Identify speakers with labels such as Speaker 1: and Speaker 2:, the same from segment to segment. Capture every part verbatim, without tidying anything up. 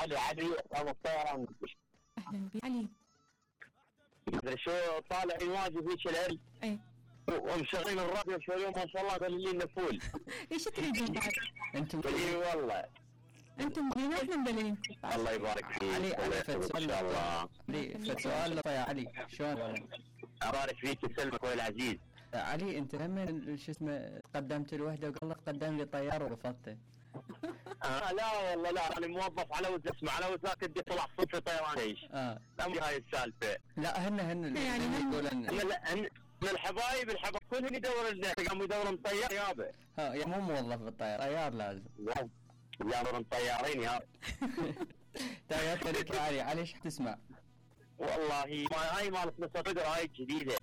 Speaker 1: علي علي ابو الطيران.
Speaker 2: اهلا بي علي.
Speaker 1: مدري شو طالع واجب هيك العلم.
Speaker 2: اي
Speaker 1: ومشغلين الراديو شو اليوم ما شاء الله قليلين فول.
Speaker 2: ايش تريدون بعد؟
Speaker 3: انتم
Speaker 1: اي والله
Speaker 2: انتم مين احنا مدللين.
Speaker 1: الله يبارك فيك.
Speaker 3: علي علي فد سؤال
Speaker 1: الله.
Speaker 3: علي فد سؤال يا علي شلون ولا؟
Speaker 1: ابارك فيك يسلمك اخوي العزيز.
Speaker 3: علي انت هم شو اسمه تقدمت الوحده وقال لك قدم لي طيار ورفضته.
Speaker 1: آه لا والله لا انا موظف على وز اسمع على وزاك بدي طلع صوت طيران ايش.
Speaker 3: اه
Speaker 1: لا مو هاي السالفه.
Speaker 3: لا هن هن
Speaker 2: يعني هن-
Speaker 3: يقولون
Speaker 1: لا هن من الحبايب الحبايب كلهم يدور لنا قاموا يدورون طيار يابا.
Speaker 3: ها يا مو موظف بالطيار طيار لازم.
Speaker 1: لا يدورون طيارين يا
Speaker 3: تحياتي لك يا علي. علي ايش تسمع؟
Speaker 1: والله ما هاي مالت نص فقره هاي جديده.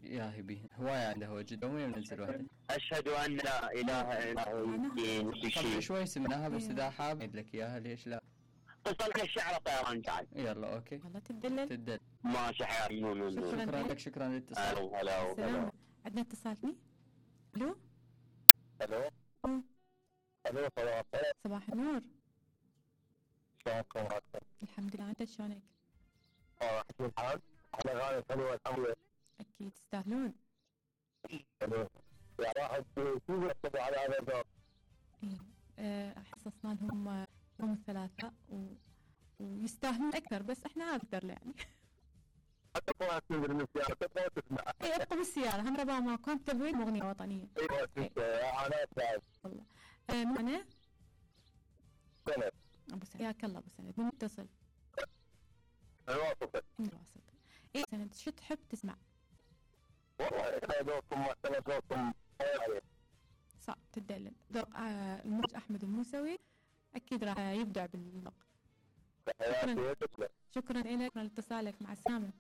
Speaker 3: يا هبي هواية عنده هو جدا وين منزل وحده.
Speaker 1: اشهد ان لا اله الا الله الدين
Speaker 3: طب
Speaker 1: شيء.
Speaker 3: شوي سمناها بس اذا حاب اعيد لك اياها ليش لا.
Speaker 1: اتصل الشعر طيران جاي.
Speaker 3: يلا اوكي
Speaker 2: والله تدلل.
Speaker 3: تدل.
Speaker 1: ماشي حياتي. نو نو نو.
Speaker 2: شكراً.
Speaker 3: شكرا لك شكرا للاتصال.
Speaker 1: هلا هلا
Speaker 2: سلام.
Speaker 1: هلا.
Speaker 2: عندنا اتصال ثاني. الو
Speaker 1: الو
Speaker 2: أوه.
Speaker 1: الو صباح الخير.
Speaker 2: صباح النور.
Speaker 1: شلونكم راكم؟
Speaker 2: الحمد لله انت شلونك؟
Speaker 1: اه احسن حال. على غاية حلوة الحمد لله.
Speaker 2: اكيد تستاهلون.
Speaker 1: حلو. يا واحد شو يحسبوا على هذا الدور؟
Speaker 2: ايه آه، حصصنا لهم يوم الثلاثاء و... ويستاهلون اكثر بس احنا اقدر يعني.
Speaker 1: حتى طلعت من السيارة تبغى تسمع.
Speaker 2: اي ابقوا بالسياره هم ربا ماكو هم تبوين اغنيه وطنيه.
Speaker 1: ايوه تسمع انا اسمع.
Speaker 2: والله آه معنا
Speaker 1: سند.
Speaker 2: ابو سند. ياك الله ابو سند من متصل؟
Speaker 1: الواسطة.
Speaker 2: من الواسط. اي سند شو تحب تسمع؟
Speaker 1: والله احنا ذوقكم مثلا ذوقكم يعني.
Speaker 2: صعب تدلل ذوق آه المخرج احمد الموسوي اكيد راح يبدع بالذوق.
Speaker 1: حياتي تسلم.
Speaker 2: شكرا لك لاتصالك مع السلامه.